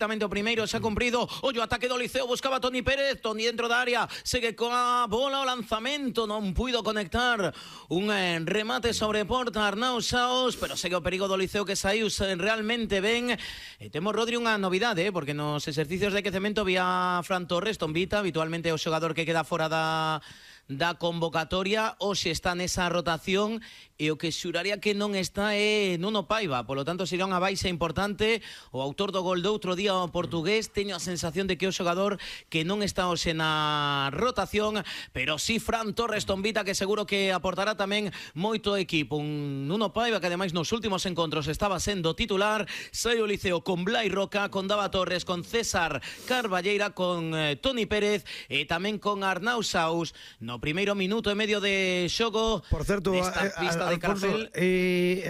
perfectamente o primeiro, xa cumprido. Ollo, ataque do Liceo, buscaba Toni Pérez, Toni dentro da área, segue coa bola o lanzamento, non puido conectar un remate sobre porta Arnau Saos, pero segue o perigo do Liceo que saiu realmente ben. E temos, Rodri, unha novidade, porque nos exercicios de quecemento vía Fran Torres, Tombita, habitualmente o xogador que queda fora da convocatoria, hoxe está nesa rotación e o que xuraría que non está é Nuno Paiva, polo tanto será unha baixa importante. O autor do gol do outro día, o portugués, teño a sensación de que é o xogador que non está hoxe na rotación, pero sí Fran Torres, Tombita, que seguro que aportará tamén moito equipo. Un Nuno Paiva que ademais nos últimos encontros estaba sendo titular. Sai o Liceo con Blai Roca, con Dava Torres, con César Carballeira, con Toni Pérez e tamén con Arnau Saus no primeiro minuto e medio de xogo. Por certo, desta pista de Calafell,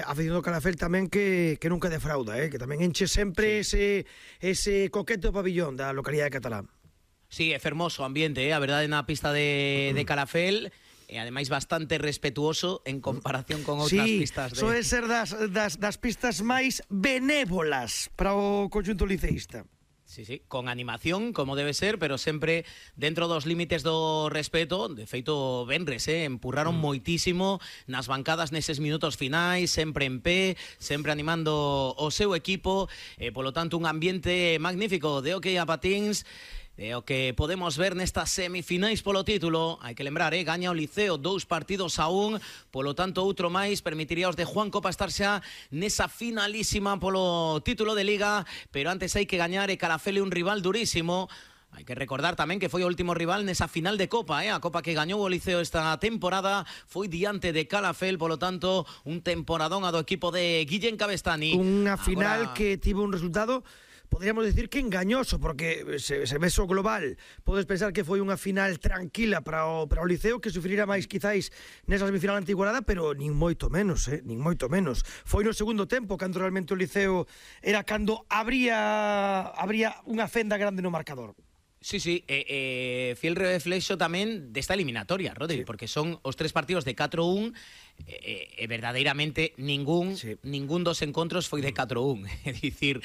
aficionado Calafell tamén que nunca defrauda, que tamén enche sempre ese coqueto pabillón da localidade catalá. Sí, é fermoso ambiente, a verdade, na pista de Calafell, e ademais bastante respetuoso en comparación con outras pistas. Soe ser das pistas máis benévolas para o conxunto liceísta. Sí, con animación, como debe ser, pero sempre dentro dos límites do respeto. De feito, venres, empurraron moitísimo nas bancadas neses minutos finais, sempre en pé, sempre animando o seu equipo, polo tanto, un ambiente magnífico de hockey a patins, o que podemos ver nestas semifinais polo título. Hai que lembrar, gaña o Liceo 2-1, polo tanto outro máis permitiría aos de Juan Copa estar xa nesa finalísima polo título de Liga, pero antes hai que gañar, e Calafell é un rival durísimo. Hai que recordar tamén que foi o último rival nesa final de Copa, a Copa que gañou o Liceo esta temporada foi diante de Calafell, polo tanto, un temporadón a do equipo de Guillén Cabestany. Unha final que tivo un resultado, podríamos decir que engañoso, porque se ves o global, podes pensar que foi unha final tranquila para o Liceo, que sufrirá máis quizáis nesa semifinal antigüedade, pero nin moito menos, nin moito menos. Foi no segundo tempo cando realmente o Liceo era cando habría unha fenda grande no marcador. Sí, fiel reflexo tamén desta eliminatoria, Rodri, porque son os 3 partidos de 4-1 e verdadeiramente ningún dos encontros foi de 4-1, é dicir,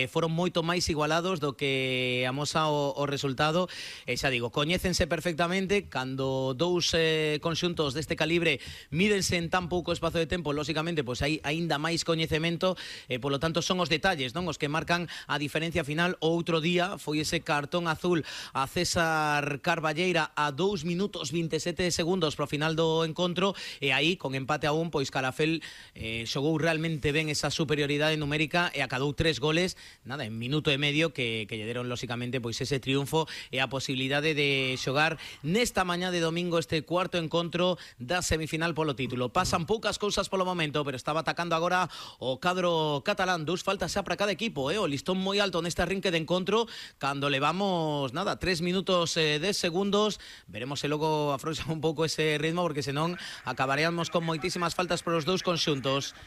foron moito máis igualados do que amosa o resultado. E xa digo, coñécense perfectamente, cando dous conxuntos deste calibre mídense en tan pouco espazo de tempo, lóxicamente, pois hai aínda máis coñecemento, polo tanto son os detalles, non, os que marcan a diferencia final. O outro día foi ese cartón azul a César Carballeira a 2 minutos 27 segundos pro final do encontro, e aí con empate a 1, pois Calafell xogou realmente ben esa superioridade numérica e acadou 3 goles, nada, en minuto e medio, que lle deron lóxicamente pois ese triunfo e a posibilidade de xogar nesta mañá de domingo este cuarto encontro da semifinal polo título. Pasan poucas cousas polo momento, pero estaba atacando agora o cadro catalán. 2 faltas xa para cada equipo, o listón moi alto neste arrinque de encontro, cando levamos, nada, 3 minutos 10 segundos. Veremos se logo afrouxa un pouco ese ritmo, porque senón acabaríamos con moitísimas faltas para os dous conxuntos.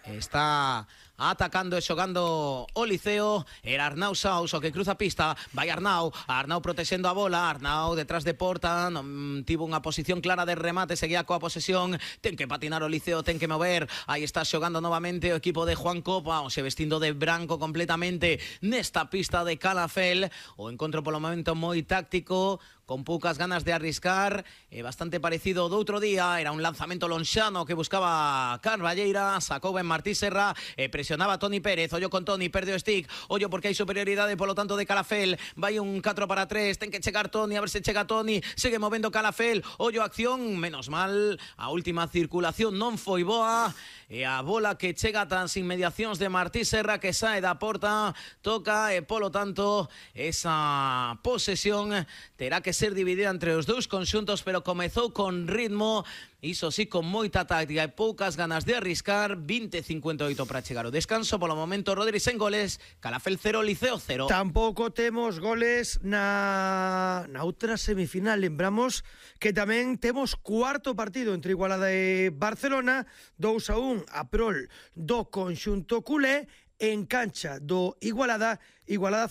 Está atacando e xogando o Liceo, era Arnau Saus o que cruza a pista, vai Arnau protexendo a bola, Arnau detrás de porta, non tivo unha posición clara de remate, seguía coa posesión, ten que patinar o Liceo, ten que mover, aí está xogando novamente o equipo de Juan Copa, se vestindo de branco completamente nesta pista de Calafell. O encontro polo momento moi táctico, con poucas ganas de arriscar, bastante parecido do outro día. Era un lanzamento lonxano que buscaba Carballeira, sacou ben Martí Serra, presionaba Toni Pérez, ollo con Toni, perde o stick, ollo porque hai superioridade polo tanto de Calafell, vai un 4-3, ten que chegar Toni, a ver se chega Toni, segue movendo Calafell, ollo acción, menos mal, a última circulación non foi boa, e a bola que chega tas inmediacións de Martí Serra, que sae da porta, toca, e polo tanto esa posesión terá que ser dividida entre os dous conxuntos, pero comezou con ritmo, iso sí, con moita táctica e poucas ganas de arriscar. 20-58 para chegar o descanso. Polo momento, Rodri, sen goles, Calafell 0, Liceo 0. Tampouco temos goles na outra semifinal. Lembramos que tamén temos cuarto partido entre Igualada e Barcelona, 2-1 a prol do conxunto culé, en cancha do Igualada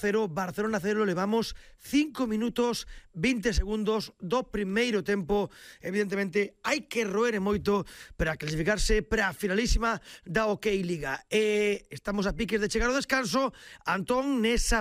0, Barcelona 0, levamos 5 minutos 20 segundos do primeiro tempo. Evidentemente hai que roer moito para clasificarse para a finalísima da OK Liga. Estamos a piques de chegar ao descanso. Antón, nesa